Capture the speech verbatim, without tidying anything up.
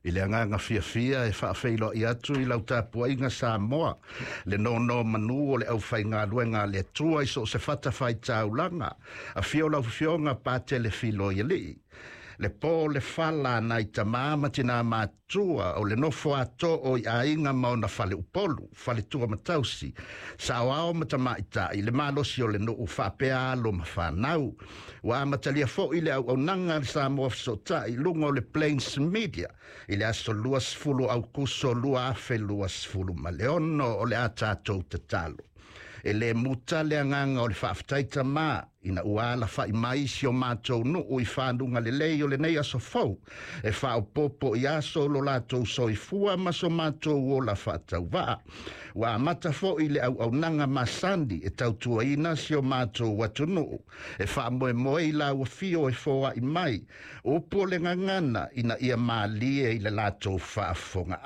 I le agaga fiafia e faafeiloai atu i lau tapuaiga Samoa, le nonomanu o le aufaigaluega a le Atua i so o se fatafaitaulaga. Afio lau Afioga Patele Filoialii, le po le fala nai tamā ma tinā matua o le nofo ato o i aiga ma ona faleupolu, faletua ma tausi, saoao ma tamaitai, le malosi o le nuu faapea alo ma fanau. Ua amatalia foi le auaunaga a le Samoa Fesootai i luga o le Plains Media i le aso luasefulu Aukuso lua afe luasefulu ma le ono. O le a tatou tatalo. E le muta le agaga o le faafetai Tamā ina ua alafai mai si o matou nuu i fanuga lelei o lenei aso fou e faaopoopo i aso o lo latou soifua ma so matou ola faatauvaa. Ua amata foi le auaunaga masani e tautuaina si o matou atunuu e faamoemoe i lau afio e foai mai upu o le gagana ina ia malie i le latou faafofoga.